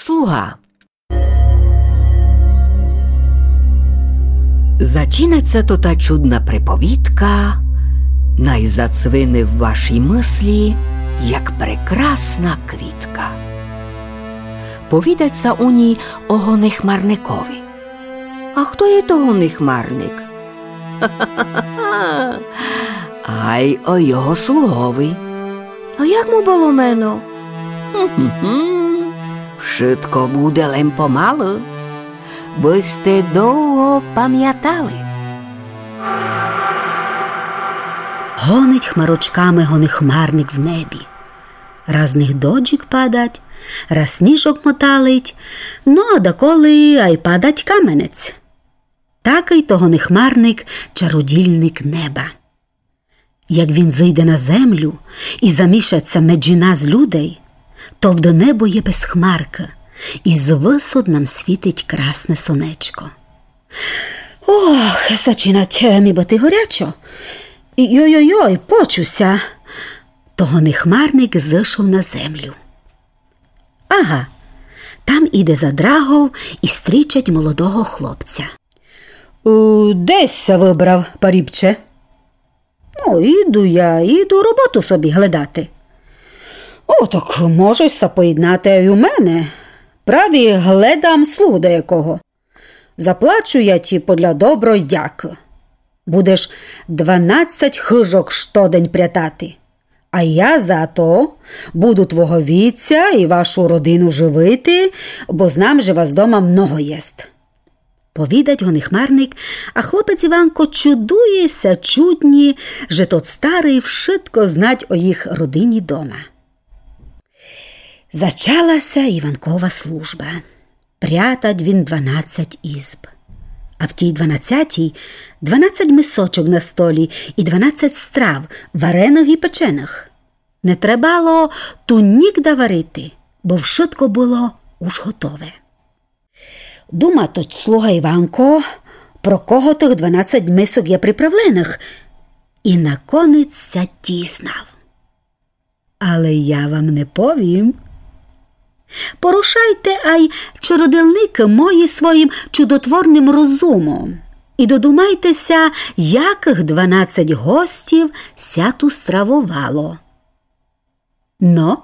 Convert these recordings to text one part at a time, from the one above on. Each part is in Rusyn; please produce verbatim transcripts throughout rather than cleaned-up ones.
Слуга. Зачинать ся тота чудна приповідка, най зацвине в вашій мыслі, як прекрасна квітка. Повідать ся у ній о гонихмарникови. А хто є то гонихмарник? Ай о його слугови. А як му было мено? Вшытко буде, лем помалы, бы сьте довго памятали. Гонить хмарочками гонихмарник в небі. Раз з них дождик падать, раз сніжок моталить, но а даколи ай падать каменець. Такый то гонихмарник, чародільник неба. Як він зыйде на землю і замішать ся меджі нас, людей, товды небо є без хмаркы, і звысот нам світить красне сонечко. Ох, зачинать ми быти горячо. Йой-йой-йой, почу ся. То гонихмарник зышов на землю. Ага, там іде за драгов і стрічать молодого хлопця. Е, де сь ся выбрав, парібче? Ну, іду я, іду роботу собі глядати. О, так можеш ся поєднати й у мене. Праві глядам слугу даякого. Заплачу я ті подля доброй дякы. Будеш дванадцять хыжок штодень прятати. А я за то буду твого вітця і вашу родину живити, бо знам, же вас дома много єст. Повідать гонихмарник, а хлопець Іванко чудує ся чудні, же тот старый вшытко знать о їх родині дома. Зачала ся Іванкова служба. Прятать він дванадцять ізб. А в тій дванадцятій дванадцять мисочок на столі і дванадцять страв, вареных і печеных. Не требало ту нігда варити, бо вшытко было уж готове. Дума тот слуга Іванко, про кого тых дванадцять мисок є приправленых, і наконець ся дізнав. Але я вам не повім. Порушайте ай, чародельникы мої, своїм чудотворным розумом і додумайте ся, якых дванадцять гостів ся ту стравовало. Но,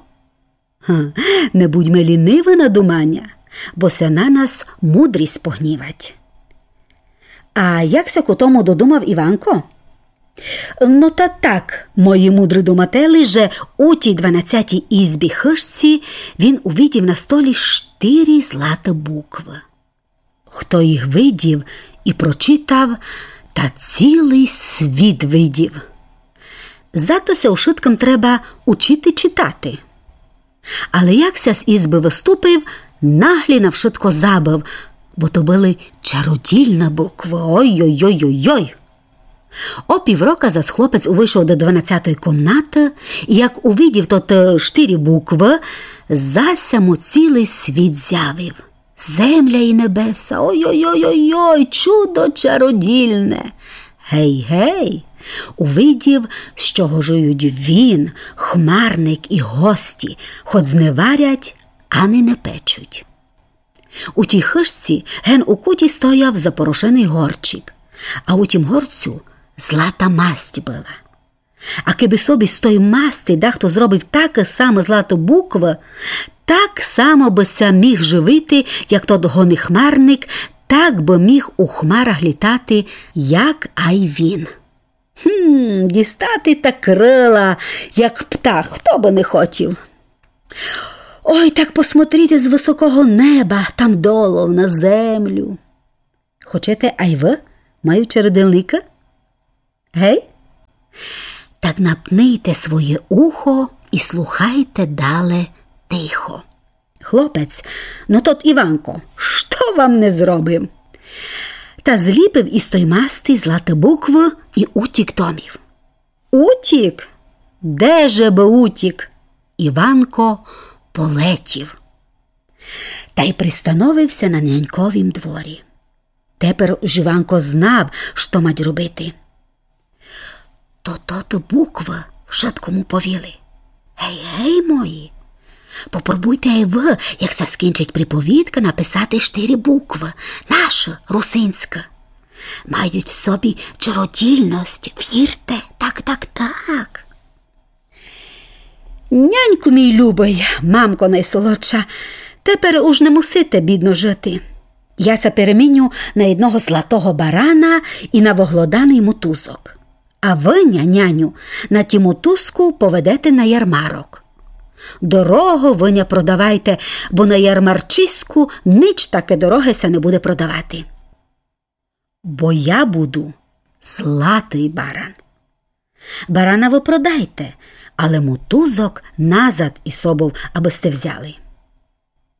га, не будьме лінивы на думаня, бо ся на нас мудрість погнівать. А як ся ко тому додумав Іванко? Но та так, мої мудры думателі, же у тій дванадцятій ізбі хыжці він увидів на столі штири златы буквы. Хто їх видів і прочитав, та цілый світ видів. Зато ся ушыткым треба учити читати. Але як ся з ізбы выступив, наглі на вшытко забыв, бо то были чародільны буквы. Ой-ой-ой-ой-ой! О піврока зас хлопець увышов до дванадцятой комнаты, і як увидів тоты штири буквы, зася му цілый світ зявив. Земля і небеса, ой-ой-ой-ой-ой, чудо чародільне. Гей-гей, увидів, з чого жыють він, хмарник і гості, хоц не варять, ани не печуть. У тій хыжці ген у куті стояв запорошеный горчик, а у тім горцю злата масть была. А кебы собі з той масти дахто зробив такы самы златы буквы, так само бы ся міг живити, як тот гоныхмарник, так бы міг у хмарах літати, як ай він. Гм, дістати та крыла, як птах, хто бы не хотів. Ой, так посмотріти з высокого неба, там долов на землю. Хочете ай вы маю чародельника? Гей? Так напнийте своє ухо і слухайте дале тихо. Хлопець: но тот Іванко, што вам не зробив? Та зліпив із той масти златы буквы і утік домів. Утік? Де же бы утік? Іванко полетів. Та й пристановив ся на няньковім дворі. Тепер уж Іванко знав, што мать робити. То тоты буквы вшытко му повіли. Гей, гей, мої. Попробуйте ай вы, як ся скінчить приповідка, написати штыри буквы. Нашы, русинськы. Мають в собі чародійность, вірте, так, так, так. Няньку мій любый, мамко найсолодша, тепер уж не мусите бідно жыти. Я ся переміню на єдного златого барана і на воглоданый мотузок. А вы ня, няню, на тім мотузку поведете на ярмарок. Дорого вы ня продавайте, бо на ярмарчиську нич таке дороге ся не буде продавати. Бо я буду златый баран. Барана вы продайте, але мотузок назад із собов, абы сьте взяли.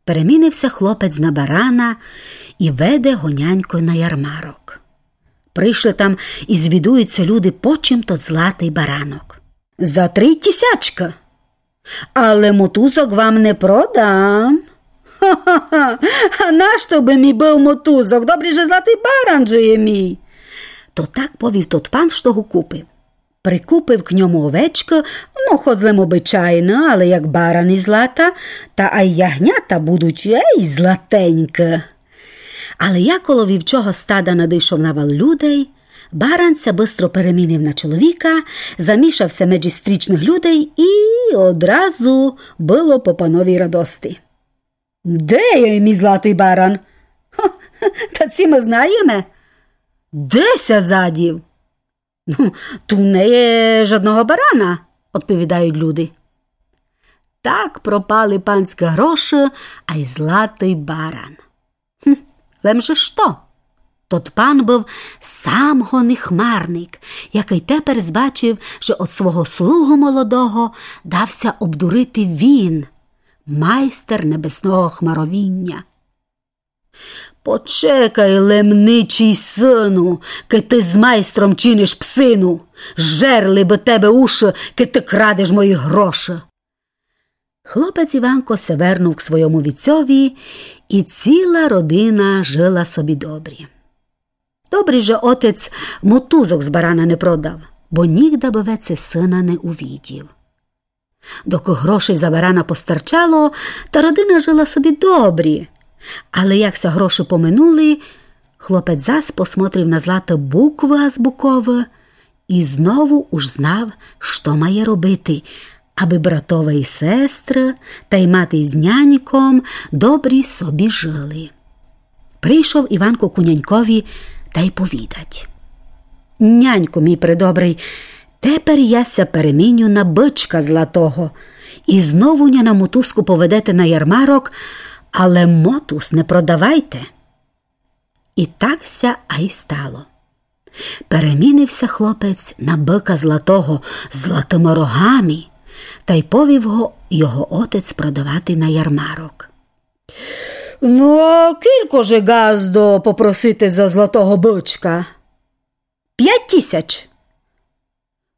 Перемінив ся хлопець на барана і веде го нянько на ярмарок. Пришли там і звідують ся люди, почим тот златый баранок. За три тісячкы. Але мотузок вам не продам. Ха-ха-ха, а нашто бы мі быв мотузок? Добрі же златый баран же є мій. То так повів тот пан, што го купив. Прикупив к ньому овечкы, но, хоц лем обычайны, але як баран із злата, та ай ягнята будуть, ей, златенькы. Але як коло вівчого стада надышов навал людей, баран ся быстро перемінив на чоловіка, замішав ся меджі стрічных людей і одразу было по пановій радости. Де є мій златый баран? Ха, та ци мы знаєме? Де ся задів? Ну, ту не є жадного барана, одповідають люди. Так пропали панськы гроши, ай златый баран. Хм, лем же што? Тот пан быв сам гони хмарник, якый тепер збачив, же од свого слугу молодого дав ся обдурити він, майстер небесного хмаровіня. Почекай лем, ничий сину, кед ты з майстром чиниш псину. Жерли бы тебе уши, кед ты крадеш мої гроши. Хлопець Іванко се вернув к свойому віцьови, і ціла родина жила собі добрі. Добрі, же отець мотузок з барана не продав, бо нігда бы веце сина не увидів. Докы грошей за барана постарчало, та родина жила собі добрі. Але як ся гроши поминули, хлопець зас посмотрив на златы буквы азбуковы і знову уж знав, што має робити, абы братове і сестры, та й мати з няньком добрі собі жили. Прийшов Іванко ку нянькові та й повідать: Няньку мій предобрий, тепер я ся переміню на бычка златого, і знову ня на мотузку поведете на ярмарок, але мотуз не продавайте. І так ся ай стало. Перемінив ся хлопець на быка златого з златыма рогами, та й повів го його отець продавати на ярмарок. Ну, а кілько же, ґаздо, попросите за златого бычка? Пять тісяч.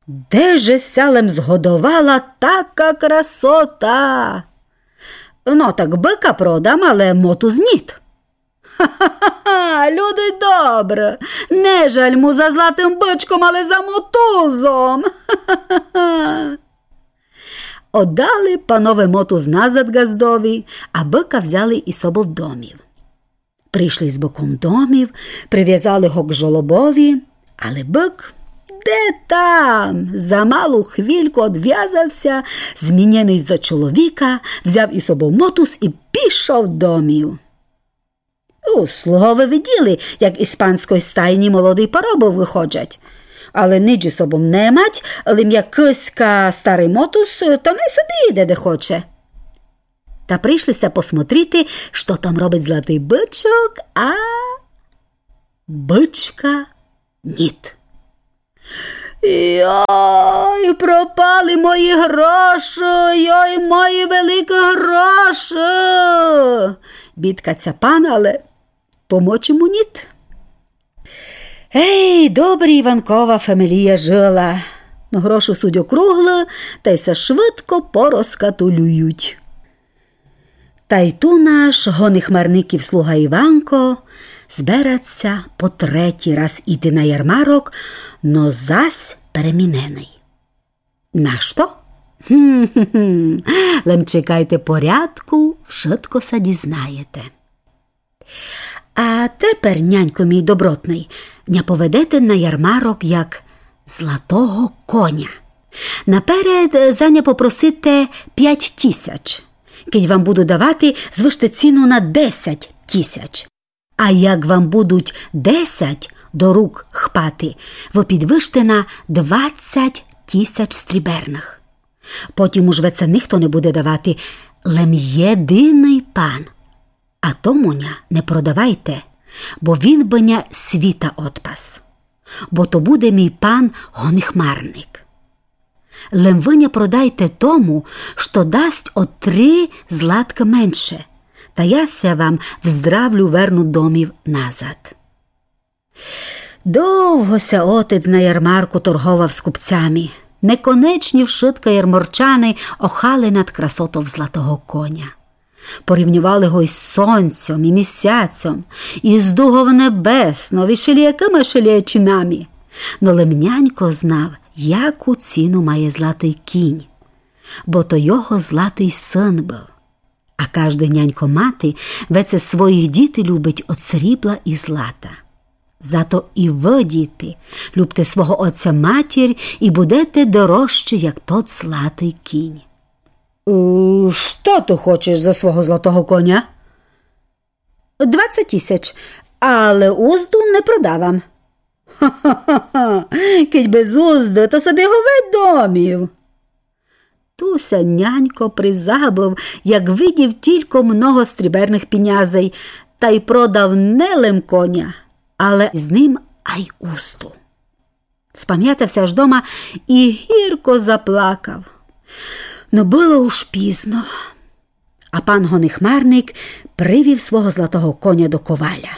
Де же ся лем згодовала така красота? Но так быка продам, але мотуз ніт. Ха-ха-ха, люди добры, не жаль му за златым бычком, але за мотузом. Ха-ха-ха. Оддали панове мотуз назад ґаздови, а быка взяли із собов домів. Пришли з быком домів, привязали го к жолобови, але бык де там, за малу хвильку одвязав ся, змінєный за чоловіка, взяв із собов мотуз і пішов домів. У, слугове виділи, як із панськой стайні молоді паробы выходжать. Але нич із собом не мать, лим як кыська старый мотуз, то най собі іде, де хоче. Та пришли ся посмотрити, што там робить златый бычок, а бычка ніт. Йой, пропали мої гроши, йой, мої великі гроши. Бідкать ся пан, але помочи му ніт. Ей, добрі Іванкова фамілія жила. Но гроши суть округлы, та й ся швидко порозкатулюють. Та й ту наш гони хмарників слуга Іванко зберать ся по третій раз іти на ярмарок, но зась переміненый. Нашто? Гм-гм-гм. Лем чекайте порядку, вшытко ся дізнаєте. А тепер, нянько мій добротный, ня поведете на ярмарок як златого коня. Наперед, е, за ня попросите пять тісяч. Кидь вам буду давати, звыште ціну на десять тісяч. А як вам будуть десять до рук хпати, вы підвыште на двадцять тісяч стріберных. Потім уж веце нихто не буде давати, лем єдиный пан. А тому ня не продавайте, бо він бы ня світа одпас. Бо то буде мій пан гоныхмарник. Лем вы ня продайте тому, што дасть о три златкы менше, та я ся вам в здравлю верну домів назад. Довго ся отець на ярмарку торговав з купцями. Неконечні вшытка ярморчани охали над красотов златого коня. Порівньовали го із сонцьом і місяцьом, із дугов небеснов, і шеліякыма шеліячинами. Но лем нянько знав, яку ціну має златый кінь, бо то його златый сын быв. А каждый нянько мати веце своїх діти любить од срібла і злата. Зато і вы, діти, любте свого отця матір і будете дорожчі, як тот златый кінь. Е, што ты хочеш за свого златого коня? Двадцять тісяч, але узду не продавам. Ха-ха-ха, кидь без узды, то собі го ведь домів. Ту ся нянько призабыв, як видів тілько много стріберных пінязей, тай продав не лем коня, але з ним ай узду. Спамятав ся аж дома і гірко заплакав. Но было уж пізно. А пан гоныхмарник привів свого златого коня до коваля.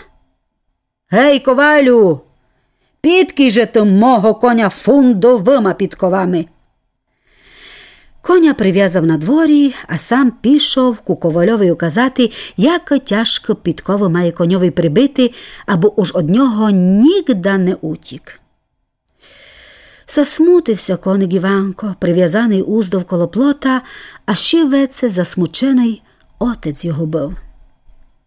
Гей, ковалю, підкій же ты мого коня фундовыма підковами. Коня привязав на дворі, а сам пішов ку ковальови указати, як тяжко підковы має коньови прибити, абы уж од нього нігда не утік. Засмутив ся коник Іванко, привязаный уздов коло плота, а ще веце засмученый отець його быв.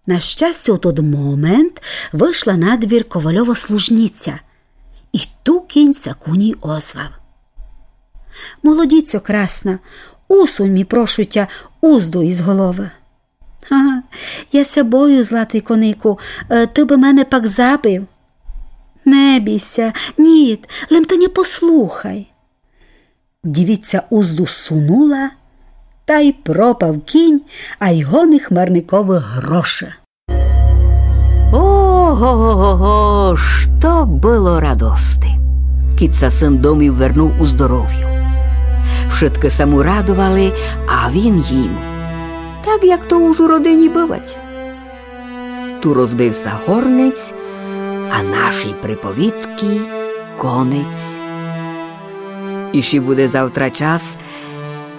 На щастя, у тот момент вышла на двір ковальова служниця, і ту кінь ся ку ній озвав: Молодіцьо красна, усунь мі, прошу тя, узду із головы. Ха, я ся бою, златый конику, е, ты бы мене пак забив. Не бій ся, ніт, лем ты ня послухай. Дівиця узду сунула, тай пропав кінь, ай гоныхмарниковы гроши. Ого-го-го, што было радости, кидь ся сын домів вернув у здоровю. Вшыткы ся му радовали, а він їм. Так, як то уж у родині бывать. Ту розбив ся горнець, а нашій приповідкы конець. Іщи буде завтра час,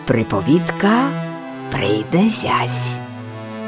приповідка прийде зясь.